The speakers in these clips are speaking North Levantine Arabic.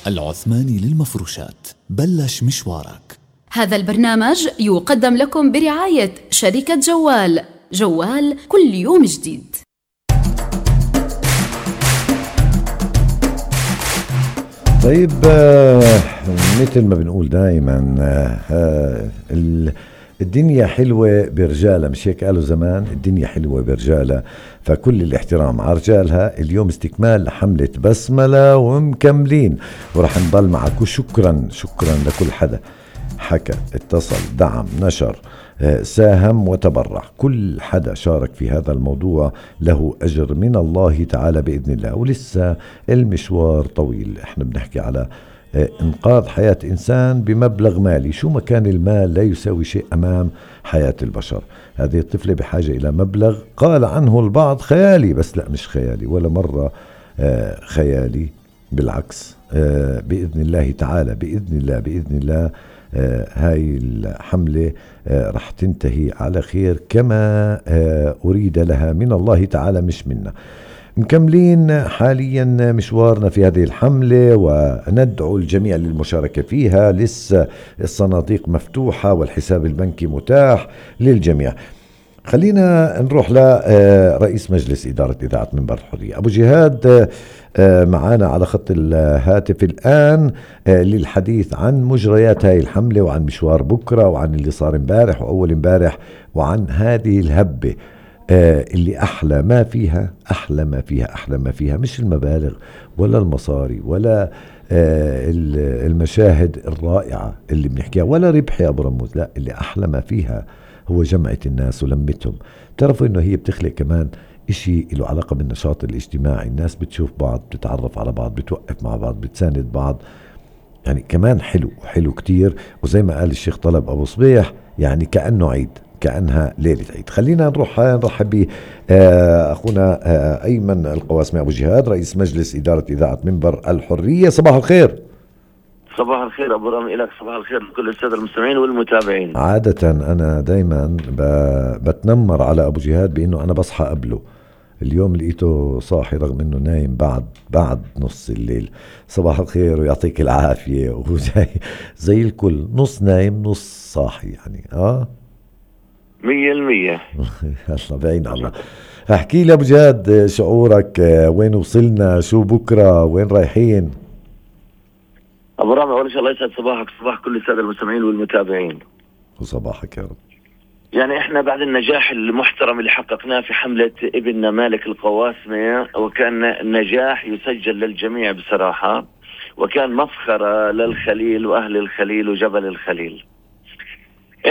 العثماني للمفروشات. بلش مشوارك. هذا البرنامج يقدم لكم برعاية شركة جوال. جوال كل يوم جديد. طيب، مثل ما بنقول دائما الدنيا حلوة برجالها، مش هيك قالوا زمان؟ الدنيا حلوة برجالها، فكل الاحترام على رجالها. اليوم استكمال لحملة بسملة ومكملين، ورح نضل معك. وشكرا لكل حدا حكى، اتصل، دعم، نشر، ساهم وتبرع. كل حدا شارك في هذا الموضوع له أجر من الله تعالى بإذن الله. ولسه المشوار طويل. احنا بنحكي على انقاذ حياة انسان بمبلغ مالي، شو ما كان المال لا يساوي شيء امام حياة البشر. هذه الطفلة بحاجة الى مبلغ قال عنه البعض خيالي، بس لا، مش خيالي ولا مرة خيالي، بالعكس. بإذن الله تعالى، بإذن الله هاي الحملة رح تنتهي على خير كما أريد لها من الله تعالى، مش منا. مكملين حاليا مشوارنا في هذه الحملة، وندعو الجميع للمشاركة فيها. لسه الصناديق مفتوحة والحساب البنكي متاح للجميع. خلينا نروح لرئيس مجلس إدارة إذاعة منبر الحرية أبو جهاد، معانا على خط الهاتف الآن للحديث عن مجريات هاي الحملة، وعن مشوار بكرة، وعن اللي صار امبارح وأول امبارح، وعن هذه الهبة اللي أحلى ما فيها مش المبالغ ولا المصاري ولا المشاهد الرائعة اللي بنحكيها ولا ربح يا أبو رموز. لا، اللي أحلى ما فيها هو جمعة الناس ولمتهم. تعرفوا إنه هي بتخلق كمان إشي له علاقة بالنشاط الاجتماعي. الناس بتشوف بعض، بتتعرف على بعض، بتوقف مع بعض، بتساند بعض. يعني كمان حلو كتير. وزي ما قال الشيخ طلب أبو صبيح، يعني كأنه عيد، كأنها ليلة عيد. خلينا نرحب ب أخونا أيمن القواسمي أبو جهاد، رئيس مجلس إدارة إذاعة منبر الحرية. صباح الخير. صباح الخير أبو رامي، إلك صباح الخير لكل السادة المستمعين والمتابعين. عادة أنا دايما بتنمر على أبو جهاد بأنه أنا بصحى قبله. اليوم لقيته صاحي رغم أنه نايم بعد نص الليل. صباح الخير ويعطيك العافية. وزي الكل، نص نايم نص صاحي يعني. 100%. الله بعين الله. احكي لي أبو جهاد، شعورك، وين وصلنا، شو بكرة، وين رايحين؟ أبو رامي، أول شيء الله يسعد صباحك، صباح كل السادة المستمعين والمتابعين. وصباحك يا رب. يعني إحنا بعد النجاح المحترم اللي حققناه في حملة ابننا مالك القواسمي، وكان نجاح يسجل للجميع بصراحة، وكان مفخرة للخليل وأهل الخليل وجبل الخليل.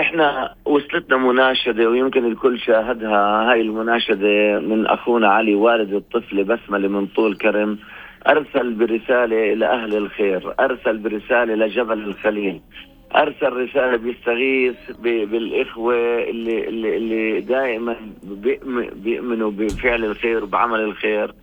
احنا وصلتنا مناشدة، ويمكن الكل شاهدها، هاي المناشدة من اخونا علي والد الطفل بسملة من طول كرم. ارسل برسالة الى اهل الخير، ارسل برسالة لجبل الخليل، ارسل رسالة بيستغيث بالاخوة اللي دائما بيؤمنوا بفعل الخير وبعمل الخير،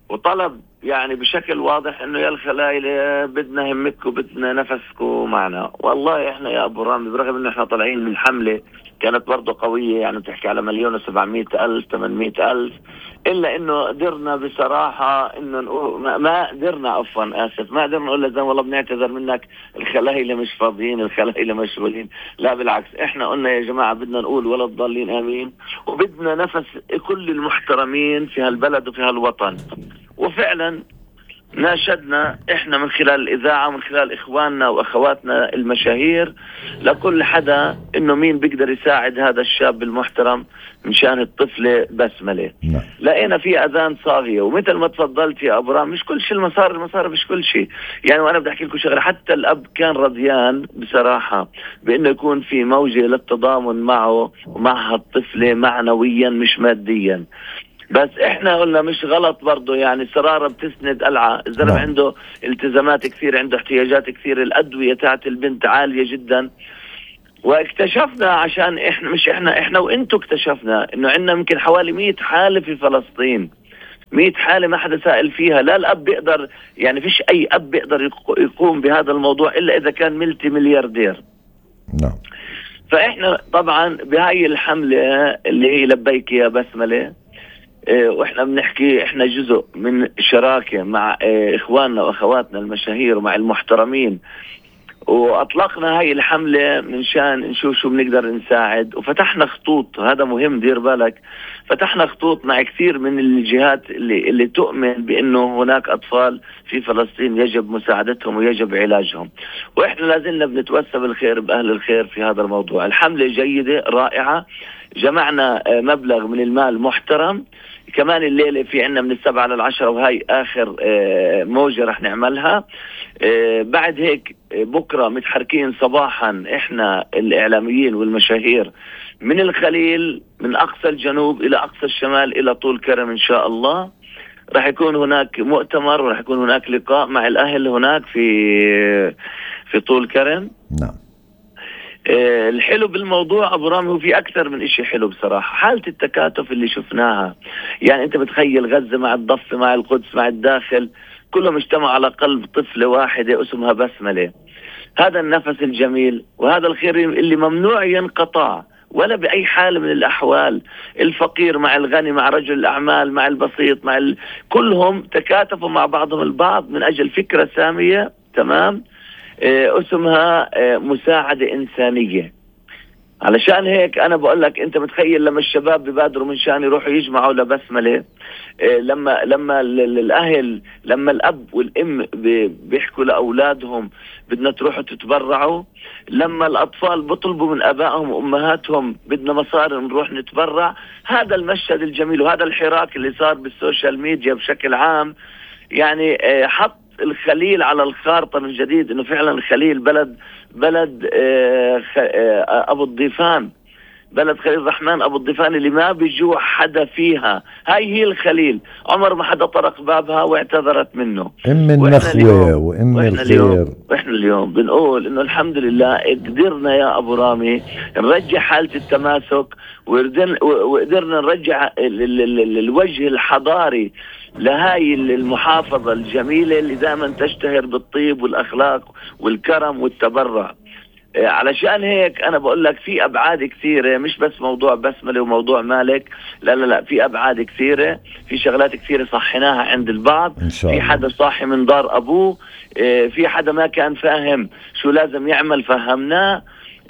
وطلب يعني بشكل واضح انه يا الخلايلة بدنا همتكم، بدنا نفسكم معنا. والله احنا يا ابو رامي، برغم انه احنا طالعين من حملة كانت برضو قوية، يعني بتحكي على 1,700,000 800,000، الا انه قدرنا بصراحة انه نقول ما قدرنا ما قدرنا نقول لزين والله بنعتذر منك، الخلايلة مش فاضيين، الخلايلة مشغولين. لا بالعكس، احنا قلنا يا جماعة بدنا نقول ولا تضلين امين، وبدنا نفس كل المحترمين في هالبلد وفي هالوطن. وفعلا ناشدنا احنا من خلال الإذاعة ومن خلال إخواننا وأخواتنا المشاهير لكل حدا إنه مين بيقدر يساعد هذا الشاب المحترم مشان الطفلة بسملة. لقينا في أذان صاغية، ومثل ما تفضلت يا أبو رام، مش كل شيء المصاري مش كل شيء. يعني وأنا بدي أحكي لكم شغلة، حتى الأب كان رضيان بصراحة بإنه يكون في موجة للتضامن معه ومع الطفلة معنويا مش ماديا. بس احنا قلنا مش غلط برضو، يعني سرارة بتسند قلعة. الزلمة عنده التزامات كثير، عنده احتياجات كثير، الأدوية تاعت البنت عالية جدا. واكتشفنا، عشان احنا وانتو اكتشفنا انه عندنا يمكن حوالي 100 حالة في فلسطين، 100 حالة ما حدا سائل فيها. لا الأب بيقدر، يعني فيش أي أب بيقدر يقوم بهذا الموضوع إلا إذا كان ملتي ملياردير. نعم. فإحنا طبعا بهاي الحملة اللي هي لبيك يا بسملة، واحنا بنحكي احنا جزء من شراكة مع اخواننا واخواتنا المشاهير ومع المحترمين، واطلقنا هاي الحملة من شان نشوف شو بنقدر نساعد، وفتحنا خطوط. هذا مهم، دير بالك، فتحنا خطوط مع كثير من الجهات اللي تؤمن بانه هناك اطفال في فلسطين يجب مساعدتهم ويجب علاجهم، واحنا لازلنا بنتوسى بالخير باهل الخير في هذا الموضوع. الحملة جيدة رائعة، جمعنا مبلغ من المال محترم. كمان الليلة في عنا من 7 ل10، وهي آخر موجة رح نعملها. بعد هيك بكرة متحركين صباحا إحنا الإعلاميين والمشاهير من الخليل، من أقصى الجنوب إلى أقصى الشمال إلى طول كرم إن شاء الله. رح يكون هناك مؤتمر ورح يكون هناك لقاء مع الأهل هناك في طول كرم. نعم. الحلو بالموضوع أبو رامي، وفي أكثر من إشي حلو بصراحة، حالة التكاتف اللي شفناها. يعني أنت بتخيل غزة مع الضفة مع القدس مع الداخل، كلهم اجتمعوا على قلب طفلة واحدة اسمها بسملة. هذا النفس الجميل وهذا الخير اللي ممنوع ينقطع ولا بأي حال من الأحوال. الفقير مع الغني، مع رجل الأعمال، مع البسيط، كلهم تكاتفوا مع بعضهم البعض من أجل فكرة سامية، تمام، اسمها مساعدة إنسانية. علشان هيك أنا بقول لك، أنت متخيل لما الشباب ببادروا من شان يروحوا يجمعوا لبسملة، لما الأهل، لما الأب والأم بيحكوا لأولادهم بدنا تروحوا تتبرعوا، لما الأطفال بطلبوا من أبائهم وأمهاتهم بدنا مصاري نروح نتبرع. هذا المشهد الجميل وهذا الحراك اللي صار بالسوشيال ميديا بشكل عام، يعني حط الخليل على الخارطة من جديد، انه فعلا الخليل بلد ابو الضيفان، بلد خليل الرحمن ابو الضيفان اللي ما بيجوع حدا فيها. هاي هي الخليل، عمر ما حدا طرق بابها واعتذرت منه. النخوة وام الخير. واحنا اليوم بنقول انه الحمد لله قدرنا يا ابو رامي نرجع حالة التماسك، وقدرنا نرجع الوجه الحضاري لهاي المحافظة الجميلة اللي دائما تشتهر بالطيب والأخلاق والكرم والتبرع. علشان هيك أنا بقول لك في أبعاد كثيرة، مش بس موضوع بسملة وموضوع مالك، لا في أبعاد كثيرة، في شغلات كثيرة صحناها عند البعض. في حدا صاحي من دار أبوه، في حدا ما كان فاهم شو لازم يعمل فهمناه.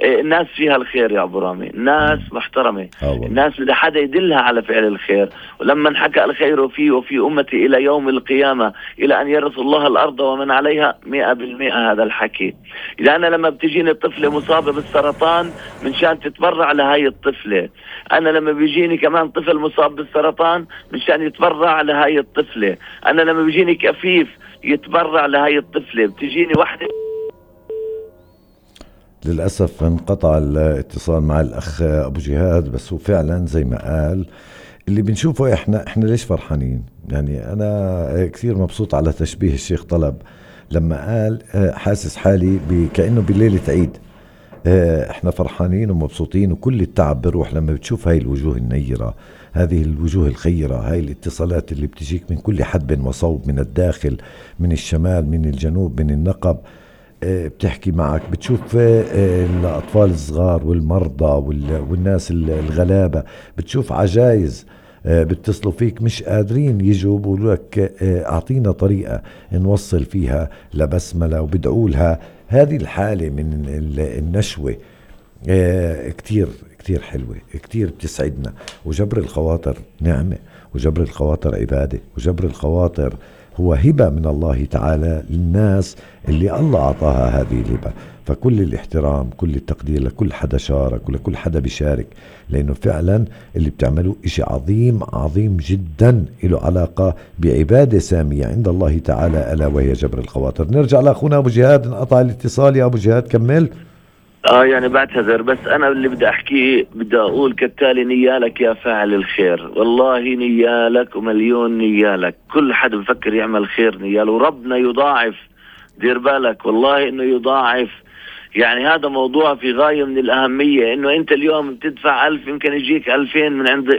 الناس فيها الخير يا أبو رامي، الناس محترمة، الناس بدها حدا يدلها على فعل الخير. ولما انحكى الخير فيه وفي أمتي إلى يوم القيامة إلى أن يرث الله الأرض ومن عليها 100%. هذا الحكي. إذا أنا لما بتجيني طفلة مصابة بالسرطان من شان تتبرع لهاي الطفلة، أنا لما بيجيني كمان طفل مصاب بالسرطان من شان يتبرع لهاي الطفلة، أنا لما بيجيني كفيف يتبرع لهاي الطفلة، بتجيني واحدة. للأسف انقطع الاتصال مع الأخ أبو جهاد، بس هو فعلا زي ما قال اللي بنشوفه احنا ليش فرحانين. يعني أنا كثير مبسوط على تشبيه الشيخ طلب لما قال حاسس حالي كأنه بليلة عيد. احنا فرحانين ومبسوطين، وكل التعب بروح لما بتشوف هاي الوجوه النيرة، هذه الوجوه الخيرة، هاي الاتصالات اللي بتجيك من كل حدب وصوب، من الداخل، من الشمال، من الجنوب، من النقب. بتحكي معك، بتشوف الأطفال الصغار والمرضى والناس الغلابة، بتشوف عجايز بتصلوا فيك مش قادرين يجوا، بقولوا لك أعطينا طريقة نوصل فيها لبسملة، وبدعوا لها. هذه الحالة من النشوة كتير كتير حلوة، كتير بتسعدنا. وجبر الخواطر نعمة، وجبر الخواطر عبادة، وجبر الخواطر هو هبة من الله تعالى للناس اللي الله أعطاها هذه الهبة. فكل الاحترام، كل التقدير لكل حدا شارك ولكل حدا بيشارك، لأنه فعلا اللي بتعملوا إشي عظيم عظيم جدا له علاقة بعبادة سامية عند الله تعالى، ألا وهي جبر الخواطر. نرجع لأخونا أبو جهاد، انقطع الاتصال يا أبو جهاد، كمل. يعني بعتذر، بس أنا اللي بدي أحكيه بدي أقول كالتالي: نيالك يا فاعل الخير، والله نيالك ومليون نيالك. كل حد بفكر يعمل خير نياله، وربنا يضاعف. دير بالك والله إنه يضاعف. يعني هذا موضوع في غاية من الأهمية، إنه أنت اليوم بتدفع 1000 يمكن يجيك 2000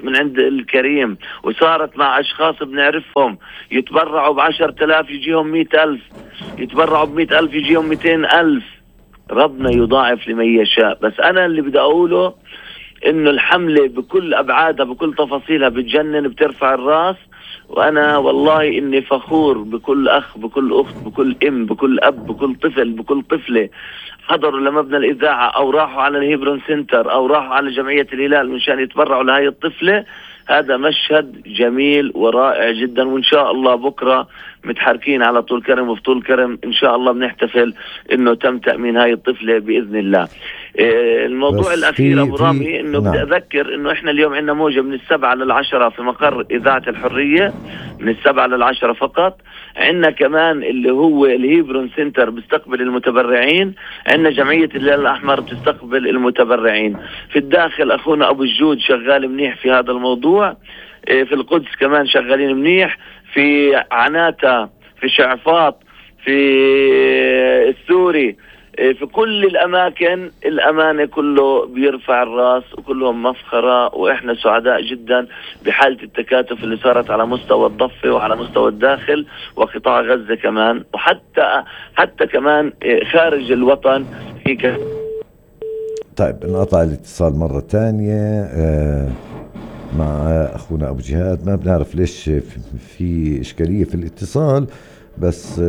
من عند الكريم. وصارت مع أشخاص بنعرفهم يتبرعوا ب10,000 يجيهم 100,000، يتبرعوا ب100,000 يجيهم 200,000. ربنا يضاعف لمن يشاء. بس أنا اللي بدي أقوله إنه الحملة بكل أبعادها بكل تفاصيلها بتجنن، بترفع الراس. وأنا والله إني فخور بكل أخ بكل أخت بكل أم بكل أب بكل طفل بكل طفلة حضروا لمبنى الإذاعة أو راحوا على الهيبرون سنتر أو راحوا على جمعية الهلال مشان يتبرعوا لهاي الطفلة. هذا مشهد جميل ورائع جدا، وإن شاء الله بكرة متحركين على طول كرم وفي طول كرم إن شاء الله بنحتفل إنه تم تأمين هاي الطفلة بإذن الله. الموضوع الأخير أبو رامي إنه بدي أذكر إنه إحنا اليوم عندنا موجة من 7 ل10 في مقر إذاعة الحرية، من 7 ل10 فقط. عندنا كمان اللي هو الهيبرون سنتر بيستقبل المتبرعين، عندنا جمعية الهلال الأحمر بتستقبل المتبرعين. في الداخل أخونا أبو الجود شغال منيح في هذا الموضوع، في القدس كمان شغالين منيح، في عناتا، في شعفاط، في السوري، في كل الأماكن الأمانة كله بيرفع الراس وكلهم مفخرة. وإحنا سعداء جدا بحالة التكاتف اللي صارت على مستوى الضفة وعلى مستوى الداخل وقطاع غزة كمان، وحتى كمان خارج الوطن في طيب انقطع الاتصال مرة تانية مع أخونا أبو جهاد. ما بنعرف ليش في إشكالية في الاتصال، بس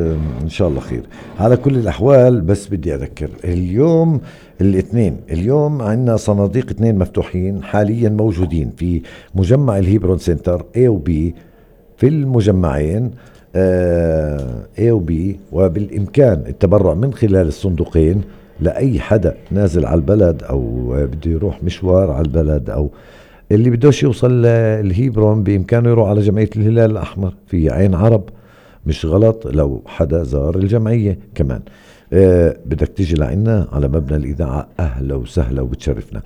إن شاء الله خير. على كل الأحوال بس بدي أذكر اليوم الاثنين، اليوم عندنا صناديق 2 مفتوحين حاليا موجودين في مجمع الهيبرون سنتر A و B في المجمعين A و B، وبالإمكان التبرع من خلال الصندوقين لأي حدا نازل على البلد أو بده يروح مشوار على البلد أو اللي بدوش يوصل الهيبرون بإمكانه يروح على جمعية الهلال الأحمر في عين عرب. مش غلط لو حدا زار الجمعية كمان. بدك تيجي لعنا على مبنى الإذاعة أهلا وسهلا وبتشرفنا.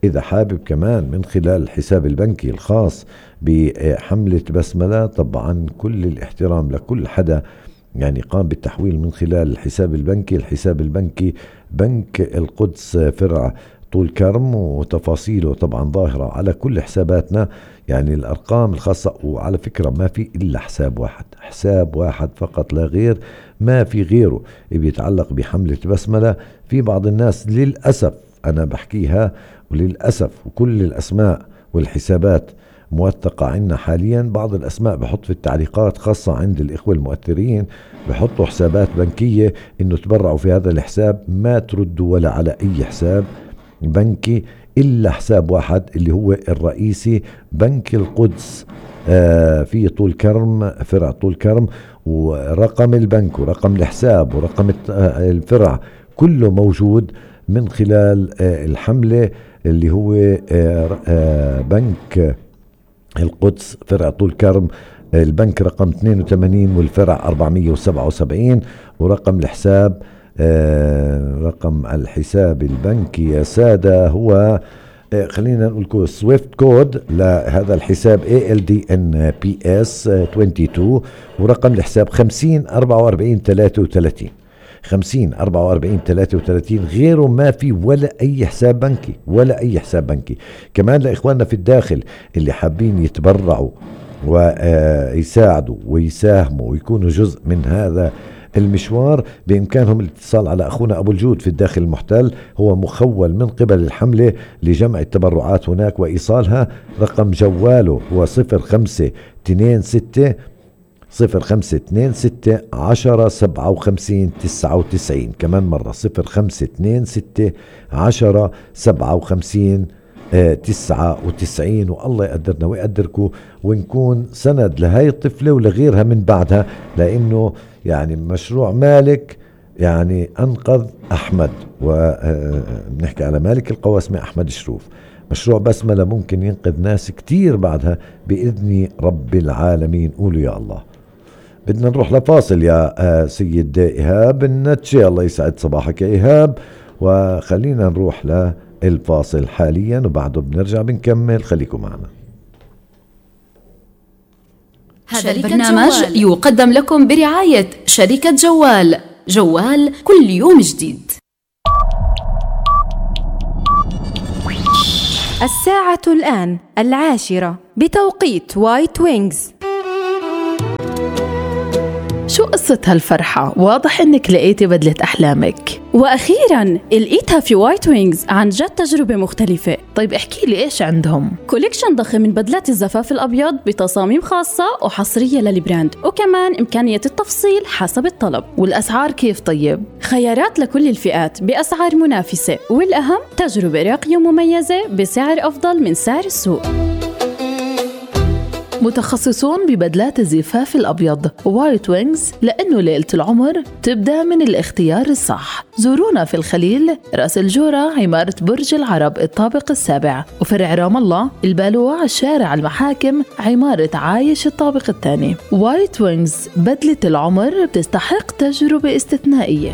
إذا حابب كمان من خلال الحساب البنكي الخاص بحملة بسملة، طبعا كل الاحترام لكل حدا يعني قام بالتحويل من خلال الحساب البنكي. الحساب البنكي بنك القدس فرع طول كرم، وتفاصيله طبعا ظاهرة على كل حساباتنا، يعني الأرقام الخاصة. وعلى فكرة ما في إلا حساب واحد فقط لا غير، ما في غيره بيتعلق بحملة بسملة. في بعض الناس للأسف أنا بحكيها وللأسف، وكل الأسماء والحسابات موثقة عنا حاليا. بعض الأسماء بحط في التعليقات خاصة عند الإخوة المؤثرين بحطوا حسابات بنكية إنه تبرعوا في هذا الحساب، ما تردوا ولا على أي حساب بنكي إلا حساب واحد اللي هو الرئيسي بنك القدس في طول كرم فرع طول كرم، ورقم البنك ورقم الحساب ورقم الفرع كله موجود من خلال الحملة اللي هو بنك القدس فرع طول كرم. البنك رقم 82 والفرع 477، ورقم الحساب رقم الحساب البنكي يا سادة هو خلينا نقول سويفت كود لهذا الحساب ALDNPS 22، ورقم الحساب 504433 504433. غيره ما في ولا أي حساب بنكي ولا أي حساب بنكي. كمان لإخواننا في الداخل اللي حابين يتبرعوا ويساعدوا ويساهموا ويكونوا جزء من هذا المشوار، بإمكانهم الاتصال على أخونا أبو الجود في الداخل المحتل، هو مخول من قبل الحملة لجمع التبرعات هناك وإيصالها. رقم جواله هو 0526 10 57 99. كمان مرة 0526 10 57 99. والله يقدرنا ويقدركم ونكون سند لهاي الطفلة ولغيرها من بعدها، لأنه يعني مشروع مالك يعني أنقذ أحمد، ونحكي على مالك القواسمة أحمد شروف. مشروع بسملة ممكن ينقذ ناس كتير بعدها بإذن رب العالمين. قولوا يا الله. بدنا نروح لفاصل يا سيد إيهاب النتشي، الله يسعد صباحك يا إيهاب، وخلينا نروح للفاصل حاليا وبعده بنرجع بنكمل. خليكم معنا. هذا البرنامج يقدم لكم برعاية شركة جوال كل يوم جديد. الساعة الآن 10:00 بتوقيت وايت وينجز. شو قصة هالفرحة؟ واضح إنك لقيتي بدلة أحلامك. وأخيراً لقيتها في وايت وينجز، عن جد تجربة مختلفة. طيب احكي لي إيش عندهم؟ كوليكشن ضخم من بدلات الزفاف الأبيض بتصاميم خاصة وحصرية للبراند، وكمان إمكانية التفصيل حسب الطلب. والأسعار كيف طيب؟ خيارات لكل الفئات بأسعار منافسة، والأهم تجربة راقية ومميزة بسعر أفضل من سعر السوق. متخصصون ببدلات الزفاف الأبيض وايت وينجز، لأنه ليلة العمر تبدأ من الاختيار الصح. زورونا في الخليل، راس الجورة، عمارة برج العرب الطابق السابع، وفرع رام الله البالوع، شارع المحاكم، عمارة عايش الطابق الثاني. وايت وينجز، بدلة العمر بتستحق تجربة استثنائية.